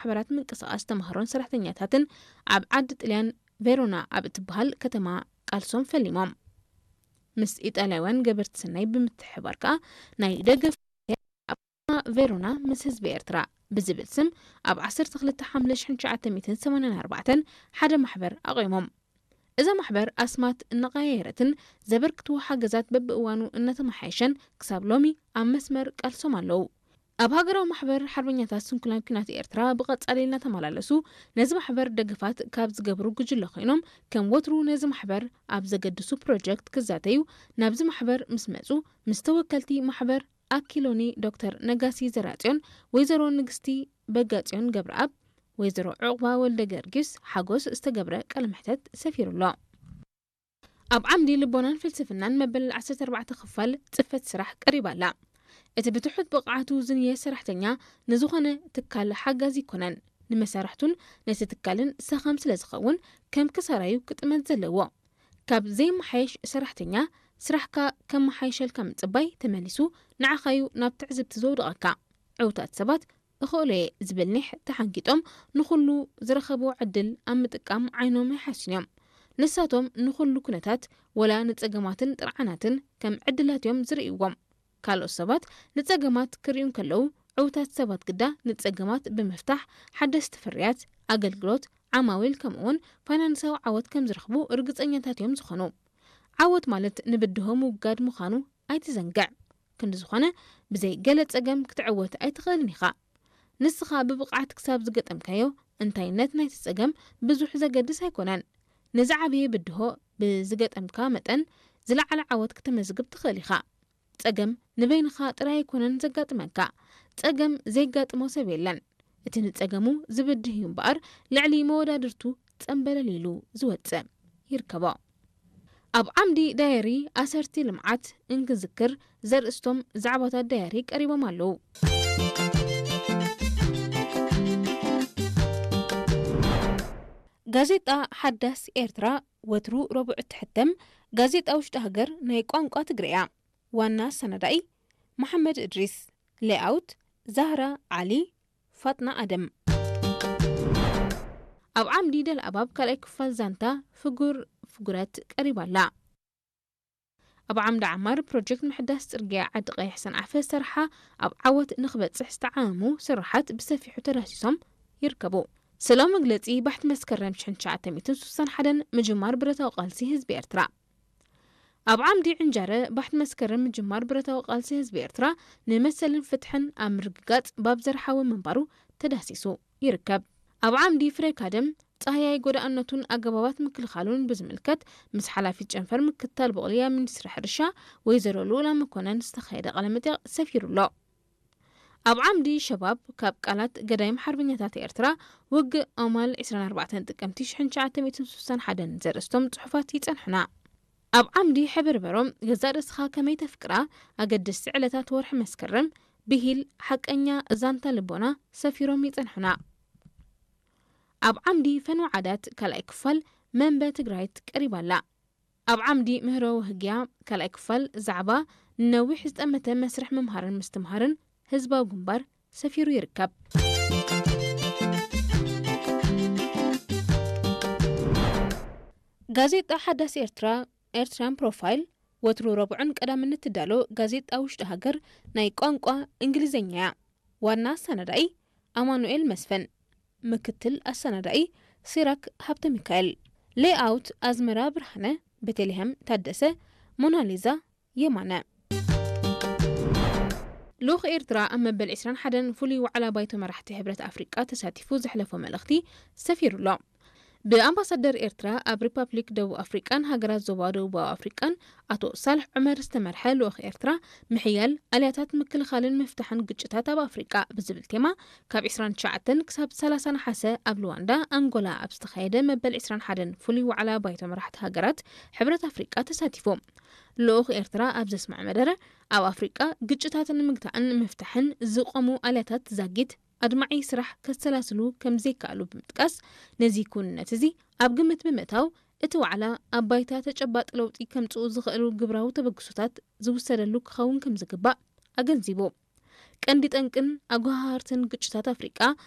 ማሕበራት ምንቅስቓስ ተምሃሮን ሰራሕተኛታትን ኣብ ዓዲ ጥልያን ቬሮና ኣብ እትበሃል ከተማ ቃልሶም ፈሊሞም። ምስ ኢጣልያውያን ገበርቲ ሰናይ ብምትሕብባር ከኣ ናይ ደገፍ ኣብ ቬሮና ምስ ህዝቢ ኤርትራ ብዝብል ስም ኣብ ዓሰርተ ክልተ ሓምለ ሽሕን ትሽዓተ ሚእትን ሰማንያን ኣርባዕተን ሓደ ማሕበር ኣቑሞም። እዛ ማሕበር ኣስማት እናቐያየረትን ዘበርክትዎ ሓገዛት በብእዋኑ እናተመሓየሸን ክሳብ ሎሚ ኣብ መስመር ቃልሶም ኣለዉ። ኣብ ሃገራዊ ማሕበር ሓርበኛታት ስንኩላን ኲናት ኤርትራ ብቐጻሊ እናተመላለሱ ነዚ ማሕበር ደገፋት ካብ ዝገብሩ ጉጅለ ኮይኖም፣ ከም ወትሩ ነዚ ማሕበር ኣብ ዘገድሱ ፕሮጀክት ክዛተዩ ናብዚ ማሕበር ምስ መጹ፣ ምስ ተወከልቲ ማሕበር ኣኪሎኒ ዶክተር ነጋሲ ዘራጽዮን ወይዘሮ ንግስቲ በጋጽዮን ገብረኣብ፣ ወይዘሮ ዑቕባ ወልደ ገርጊስ ሓጎስ ዝተገብረ ቃለ መሕተት ሰፊሩ ኣሎ። ኣብ ዓምዲ ልቦናን ፍልስፍናን መበል ዓሰርተ ኣርባዕተ ክፋል ጽፈት ስራሕ ቀሪባ ኣላ። እቲ ብትሑት ብቕዓቱ ዝንየ ሰራሕተኛ ንዝኾነ ትካል ሓጋዚ ኣይኮነን። ንመሳርሕቱን ነቲ ትካልን ሰኸም ስለ ዝኸውን ከም ክሳራዩ ክጥመት ዘለዎ። ካብ ዘይመሓየሽ ሰራሕተኛ ስራሕካ ከመሓየሸልካ ምጽባይ ተመሊሱ ንዓኻዩ ናብ ትዕዝብቲ ዘውድቐካ። ዕውታት ሰባት እኽእሎ እየ ዝብል ኒሕ ተሓንጊጦም ንኹሉ ዝረኸብዎ ዕድል ኣብ ምጥቃም ዓይኖም ኣይሓስዩን እዮም። ንሳቶም ንኹሉ ኩነታት ወላ ንጸገማትን ጥርዓናትን ከም ዕድላት እዮም ዝርእይዎም። ካልኦት ሰባት ንጸገማት ክርእዩ እንከለዉ ዕውታት ሰባት ግዳ ንጸገማት ብምፍታሕ ሓደስቲ ፍርያት፣ ኣገልግሎት፣ ዓማዊል ከምኡውን ፋይናንሳዊ ዓወት ከም ዝረኽቡ ርግጸኛታት እዮም ዝኾኑ። ዓወት ማለት ንብድሆ ምውጋድ ምዃኑ ኣይትዘንግዕ። ክንዲ ዝኾነ ብዘይ ገለ ጸገም ክትዕወት ኣይትኽእልን ኢኻ። ንስኻ ብብቕዓት ክሳብ ዝገጠምካዮ እንታይነት ናይቲ ጸገም ብዙሕ ዘገድስ ኣይኮነን። ንዝዓበየ ብድሆ ብዝገጠምካ መጠን ዝለዓለ ዓወት ክተመዝግብ ትኽእል ኢኻ። ጸገም ንበይንኻ ጥራይ ኣይኮነን ዘጋጥመካ። ጸገም ዘይጋጥሞ ሰብ የለን። እቲ ንጸገሙ ዝብድህ እዩ እምበኣር ልዕሊ መወዳድርቱ ጸምበለል ኢሉ ዝወጽእ ይርከቦ። ኣብ ዓምዲ ዳየሪ ኣሰርቲ ልምዓት እንክዝክር ዘርእስቶም ዛዕባታት ዳየሪ ቀሪቦም ኣለዉ። ጋዜጣ ሓዳስ ኤርትራ ወትሩ ረቡዕ እትሕተም ጋዜጣ ውሽጢ ሃገር ናይ ቋንቋ ትግርያ። ዋና ኣሰናዳኢ መሓመድ እድሪስ። ሌኣውት ዛህራ ዓሊ፣ ፋጥና ኣደም። ኣብ ዓምዲ ደልኣባብ ካልኣይ ክፋል ዛንታ ፍጉር ፍጉረት ቀሪባ ኣላ። ኣብ ዓምዲ ዓማር ፕሮጀክት ምሕዳስ ጽርግያ ዓዲ ቀይሕ ሰንዓፈ ሰርሓ ኣብ ዓወት ንኽበጽሕ ዝተዓመሙ ስራሓት ብሰፊሑ ተዳህሲሶም ይርከቡ። ስለ መግለጺ ባሕቲ መስከረም ሽሕን ትሽዓተ ሚእትን ስሳን ሓደን ምጅማር ብረታዊ ቃልሲ ህዝቢ ኤርትራ። ኣብ ዓምዲ ዕንጃረ ባሕቲ መስከረም ምጅማር ብረታዊ ቃልሲ ህዝቢ ኤርትራ ንመሰልን ፍትሕን ኣብ ምርግጋጽ ባብ ዘርሓወ ምንባሩ ተዳህሲሱ ይርከብ። ኣብ ዓምዲ ፍሬ ካደም ጻህያይ ጎዳእነቱን ኣገባባት ምክልኻሉን ብዝምልከት ምስ ሓላፊት ጨንፈር ምክትታል ብቑልያ ሚኒስትሪ ሕርሻ ወይዘሮ ልኡላ መኮነን ዝተኻየደ ቃለ መጠይቕ ሰፊሩ ኣሎ። ኣብ ዓምዲ ሸባብ ካብ ቃላት ገዳይም ሓርበኛታት ኤርትራ ውግእ ኣማል ዕስራን ኣርባዕተን ጥቅምቲ ሽሕን ትሽዓተ ሚእትን ስሳን ሓደን ዘርእስቶም ጽሑፋት ይጸንሑና። ኣብ ዓምዲ ሕብርበሮም ገዛእ ርእስኻ ከመይ ተፍቅራ ኣገደስቲ ዕለታት ወርሒ መስከረም ብሂል ሓቀኛ ዛንታ ልቦና ሰፊሮም ይጸንሑና። ኣብ ዓምዲ ፈንው ዓዳት ካልኣይ ክፋል መንበ ትግራይት ቀሪባ ኣላ። ኣብ ዓምዲ ምህሮ ወህግያ ካልኣይ ክፋል ዛዕባ ንነዊሕ ዝጠመተ መስርሕ ምምሃርን ምስትምሃርን ህዝባዊ ግንባር ሰፊሩ ይርከብ። ጋዜጣ ሓዳስ ኤርትራ ኤርትራን ፕሮፋይል ወትሩ ረቡዕን ቀዳምን እትዳሎ ጋዜጣ ውሽጢ ሃገር ናይ ቋንቋ እንግሊዝኛ እያ። ዋና ኣሰናዳኢ ኣማኑኤል መስፍን፣ ምክትል ኣሰናዳኢ ሲራክ ሃብተ ሚካኤል፣ ሌኣውት ኣዝመራ ብርሃነ፣ ቤተልሔም ታደሰ፣ ሞናሊዛ የማነ። ልኡኽ ኤርትራ ኣብ መበል ዕስራን ሓደን ፍሉይ ዋዕላ ባይቶ መራሕቲ ሕብረት ኣፍሪቃ ተሳቲፉ ዘሕለፎ መልእኽቲ ሰፊሩ ኣሎ። ብኣምባሳደር ኤርትራ ኣብ ሪፓብሊክ ደቡብ ኣፍሪቃን ሃገራት ዞባ ደቡባዊ ኣፍሪቃን ኣቶ ሳልሕ ዑመር ዝተመርሐ ልኡኽ ኤርትራ ምሕያል ኣልያታት ምክልኻልን ምፍታሕን ግጭታት ኣብ ኣፍሪቃ ብዝብል ቴማ ካብ ዕስራን ትሽዓተን ክሳብ ሰላሳ ነሓሰ ኣብ ሉዋንዳ ኣንጎላ ኣብ ዝተኻየደ መበል ዕስራን ሓደን ፍሉይ ዋዕላ ባይቶ መራሕቲ ሃገራት ሕብረት ኣፍሪቃ ተሳቲፉ። ልኡኽ ኤርትራ ኣብ ዘስምዖ መደረ ኣብ ኣፍሪቃ ግጭታት ንምግታእን ንምፍታሕን ዝቖሙ ኣልያታት ዛጊት ኣድማዒ ስራሕ ከሰላስሉ ከም ዘይከኣሉ ብምጥቃስ፣ ነዚ ክውንነት እዚ ኣብ ግምት ብምእታው፣ እቲ ዋዕላ ኣብ ባይታ ተጨባጢ ለውጢ ከምጽኡ ዝኽእሉ ግብራዊ ተበግሶታት ዝውሰደሉ ክኸውን ከም ዝግባእ ኣገንዚቡ። ቀንዲ ጠንቅን ኣጓሃህርትን ግጭታት ኣፍሪቃ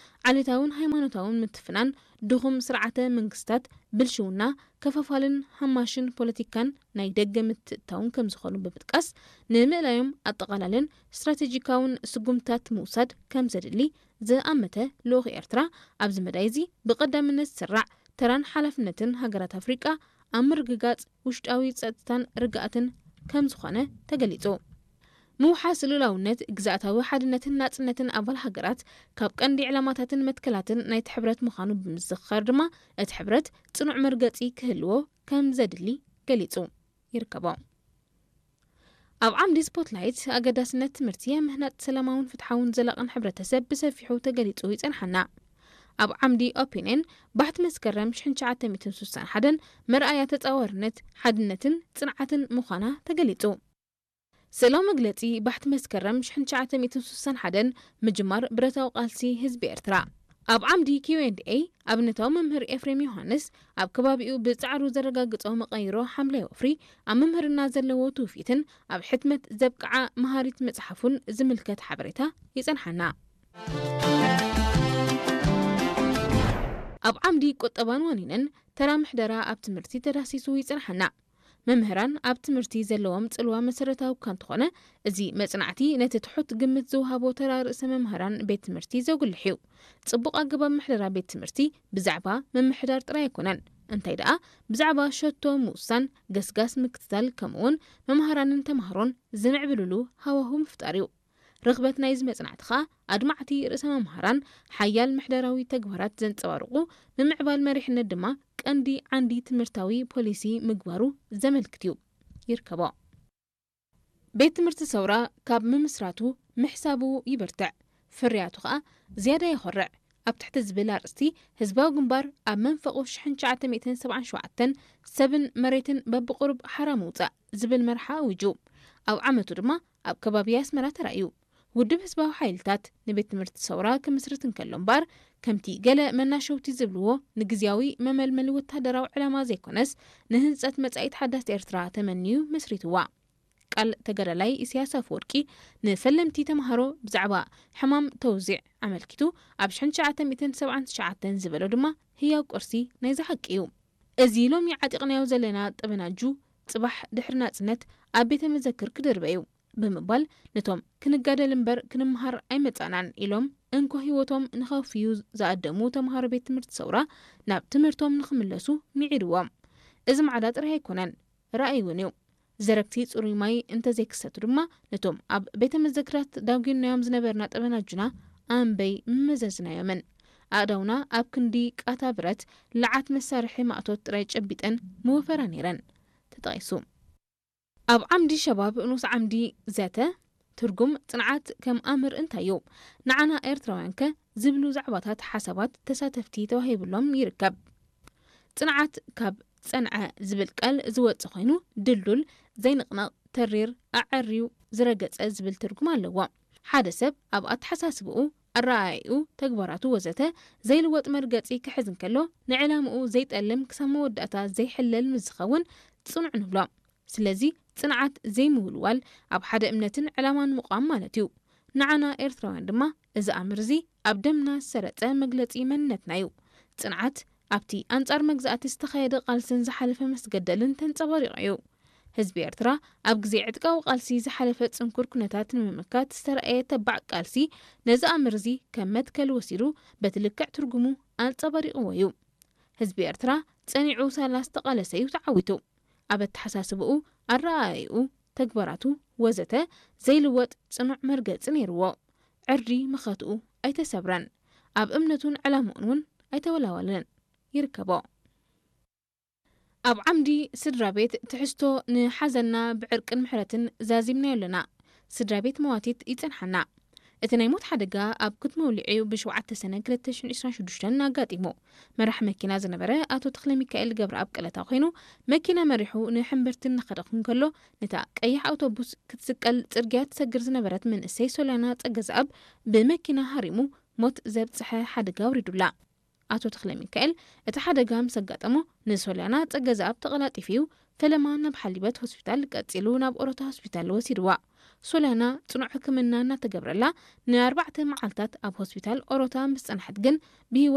ዓሌታውን ሃይማኖታውን ምትፍናን፣ ድኹም ስርዓተ መንግስታት፣ ብልሽውና፣ ከፋፋልን ሃማሽን ፖለቲካን ናይ ደገ ምትእትታውን ከም ዝኾኑ ብምጥቃስ፣ ንምእላዮም ኣጠቓላልን ስትራቴጂካውን ስጉምትታት ምውሳድ ከም ዘድሊ ዝኣመተ ልኡኽ ኤርትራ፣ ኣብዚ መዳይ እዚ ብቐዳምነት ዝስራዕ ተራን ሓላፍነትን ሃገራት ኣፍሪቃ ኣብ ምርግጋጽ ውሽጣዊ ጸጥታን ርግኣትን ከም ዝኾነ ተገሊጹ። ምውሓስ ልኡላውነት፣ ግዝኣታዊ ሓድነትን ናጽነትን ኣባል ሃገራት ካብ ቀንዲ ዕላማታትን መትከላትን ናይቲ ሕብረት ምዃኑ ብምዝኽኻር ድማ፣ እቲ ሕብረት ጽኑዕ መርገጺ ክህልዎ ከም ዘድሊ ገሊጹ ይርከቦ። ኣብ ዓምዲ ስፖትላይት፣ ኣገዳስነት ትምህርቲ ኣብ ምህናጽ ሰላማውን ፍትሓውን ዘላቕን ሕብረተሰብ ብሰፊሑ ተገሊጹ ይጸንሓና። ኣብ ዓምዲ ኦፒንየን፣ ባሕቲ መስከረም ሽሕን ትሽዓተ ሚእትን ስሳን ሓደን መርኣያ ተጻዋርነት፣ ሓድነትን ጽንዓትን ምዃና ተገሊጹ። ስእላዊ መግለጺ ባሕቲ መስከረም ሽሕን ትሽዓተ ሚእትን ስሳን ሓደን ምጅማር ብረታዊ ቃልሲ ህዝቢ ኤርትራ። ኣብ ዓምዲ ኪው ኤንድ ኤ፣ ኣብነታዊ መምህር ኤፍሬም ዮሃንስ ኣብ ከባቢኡ ብጻዕሩ ዘረጋግጾ መቐይሮ ሓምላይ ወፍሪ ኣብ ምምህርና ዘለዎ ትውፊትን ኣብ ሕትመት ዘብቅዓ መሃሪት መጽሓፉን ዝምልከት ሓበሬታ ይጸንሓና። ኣብ ዓምዲ ቁጠባን ዋኒንን፣ ተራ ምሕደራ ኣብ ትምህርቲ ተዳህሲሱ ይጸንሓና። መምህራን ኣብ ትምህርቲ ዘለዎም ጽልዋ መሰረታዊ እኳ እንተኾነ፣ እዚ መጽናዕቲ ነቲ ትሑት ግምት ዝወሃቦ ተራ ርእሰ መምህራን ቤት ትምህርቲ ዘጉልሕ እዩ። ጽቡቕ ኣገባብ ምሕደራ ቤት ትምህርቲ ብዛዕባ ምምሕዳር ጥራይ ኣይኮነን፣ እንታይ ደኣ ብዛዕባ ሸቶ ምውሳን፣ ገስጋስ ምክትታል፣ ከምኡውን መምሃራንን ተማሃሮን ዝምዕብልሉ ሃዋሁ ምፍጣር እዩ። ርኽበት ናይዚ መጽናዕቲ ኸኣ፣ ኣድማዕቲ ርእሰ መምሃራን፣ ሓያል ምሕደራዊ ተግባራት ዘንጸባርቑ ምምዕባል መሪሕነት ድማ ቀንዲ ዓንዲ ትምህርታዊ ፖሊሲ ምግባሩ ዘመልክት እዩ። ይርከቦ። ቤት ትምህርቲ ሰውራ ካብ ምምስራቱ ምሕሳቡ ይበርትዕ፣ ፍርያቱ ኸኣ ዝያዳ የኾርዕ። ኣብ ትሕቲ ዝብል ኣርእስቲ፣ ህዝባዊ ግንባር ኣብ መንፈቑ ሽሕን ትሽዓተ ሚእትን ሰብዓን ሸውዓተን፣ ሰብን መሬትን በብቑሩብ ሓራ ምውጻእ ዝብል መርሓ ኣዊጁ። ኣብ ዓመቱ ድማ ኣብ ከባቢ ኣስመራ ተራእዩ። ውድብ ህዝባዊ ሓይልታት ንቤት ትምህርቲ ሰውራ ክምስርት እንከሎ እምበኣር፣ ከምቲ ገለ መናሸውቲ ዝብልዎ፣ ንግዝያዊ መመልመሊ ወተሃደራዊ ዕላማ ዘይኮነስ፣ ንህንጸት መጻኢት ሓዳስ ኤርትራ ተመንዩ መስሪትዋ። ቃል ተጋዳላይ ኢሳያስ ኣፈወርቂ ንፈለምቲ ተምሃሮ ብዛዕባ ሕማም ተውዚዕ ኣመልኪቱ ኣብ ሽሕን ትሽዓተ ሚእትን ሰብዓን ትሽዓተን ዝበሎ ድማ ህያው ቅርሲ ናይዚ ሓቂ እዩ። እዚ ሎሚ ዓጢቕናዮ ዘለና ጠበናጁ ጽባሕ ድሕሪ ናጽነት ኣብ ቤተ መዘክር ክድርበ እዩ ብምባል፣ ነቶም ክንጋደል እምበር ክንምሃር ኣይመጻናን ኢሎም እንኮ ህይወቶም ንኸፍዩ ዝኣደሙ ተምሃሮ ቤት ትምህርቲ ሰውራ ናብ ትምህርቶም ንኽምለሱ ምዒድዎም። እዚ ማዕዳ ጥራይ ኣይኮነን፣ ራእይ እውን እዩ። ዘረግቲ ጽሩይ ማይ እንተዘይክሰቱ ድማ፣ ነቶም ኣብ ቤተ መዘክራት ዳጒናዮም ዝነበርና ጠበናጁና ኣንበይ ምመዘዝናዮምን። ኣእዳውና ኣብ ክንዲ ቃታ ብረት፣ ለዓት መሳርሒ ማእቶት ጥራይ ጨቢጠን ምወፈራ ነይረን። ተጠቒሱ። ኣብ ዓምዲ ሸባብ ንኡስ ዓምዲ ዘተ፣ ትርጉም ጽንዓት ከም ኣምር እንታይ እዩ? ንዓና ኤርትራውያንከ? ዝብሉ ዛዕባታት ሓሳባት ተሳተፍቲ ተዋሂብሎም ይርከብ። ጽንዓት ካብ ጸንዐ ዝብል ቃል ዝወጽእ ኮይኑ፣ ድልዱል፣ ዘይንቕነቕ፣ ተሪር፣ ኣዐርዩ ዝረገጸ ዝብል ትርጉም ኣለዎ። ሓደ ሰብ ኣብ ኣተሓሳስብኡ፣ ኣረኣእይኡ፣ ተግባራቱ ወዘተ ዘይልወጥ መርገጺ ክሕዝ እንከሎ፣ ንዕላምኡ ዘይጠልም ክሳብ መወዳእታ ዘይሕለል ምስ ዝኸውን ጽኑዕ ንብሎ። ስለዚ ጽንዓት ዘይምውልዋል ኣብ ሓደ እምነትን ዕላማን ምቋም ማለት እዩ። ንዓና ኤርትራውያን ድማ እዚ ኣምር እዚ ኣብ ደምና ዝሰረጸ መግለጺ መንነትና እዩ። ጽንዓት ኣብቲ ኣንጻር መግዛእቲ ዝተኻየደ ቃልስን ዝሓለፈ መስገደልን ተንጸባሪቑ እዩ። ህዝቢ ኤርትራ ኣብ ግዜ ዕጥቃዊ ቃልሲ ዝሓለፈ ጽንኩር ኩነታት ንምምካት ዝተራእየ ተባዕ ቃልሲ ነዚ ኣምር እዚ ከም መትከል ወሲዱ በቲ ልክዕ ትርጉሙ ኣንጸባሪቕዎ እዩ። ህዝቢ ኤርትራ ጸኒዑ ሳላ ዝተቓለሰ እዩ ተዓዊቱ። ኣብ ኣተሓሳስብኡ፣ ኣረኣእይኡ፣ ተግባራቱ ወዘተ ዘይልወጥ ጽኑዕ መርገጺ ነይርዎ። ዕርዲ መኸትኡ ኣይተሰብረን። ኣብ እምነቱን ዕላምኡን እውን ኣይተወላወለን። ይርከቦ። ኣብ ዓምዲ ስድራ ቤት ትሕዝቶ ንሓዘንና ብዕርቅን ምሕረትን ዛዚምናዮ ኣለና። ስድራ ቤት መዋቲት ይጸንሓና። እቲ ናይ ሞት ሓደጋ ኣብ ክትመውሊዑ ብሸውዓተ ሰነ ክልተ ሽሕን ዕስራን ሽዱሽተን ኣጋጢሙ። መራሕ መኪና ዝነበረ ኣቶ ተኽለ ሚካኤል ገብረኣብ ቀለታ ኮይኑ፣ መኪና መሪሑ ንሕምብርቲ እናኸደ እንከሎ፣ ነታ ቀያሕ ኣውቶቡስ ክትስቀል ጽርግያ ትሰግር ዝነበረት መንእሰይ ሶልያና ጸገዝኣብ ብመኪና ሃሪሙ ሞት ዘብጽሐ ሓደጋ ኣውሪዱላ። ኣቶ ተኽለ ሚካኤል እቲ ሓደጋ ምስ ኣጋጠሞ፣ ንሶልያና ጸገዝኣብ ተቐላጢፉ ፈለማ ናብ ሓሊበት ሆስፒታል፣ ቀጺሉ ናብ ኦሮታ ሆስፒታል ወሲድዋ። ሶሊያና ጽኑዕ ሕክምና እናተገብረላ ንኣርባዕተ መዓልታት ኣብ ሆስፒታል ኦሮታ ምስ ጸንሐት ግን ብህይወት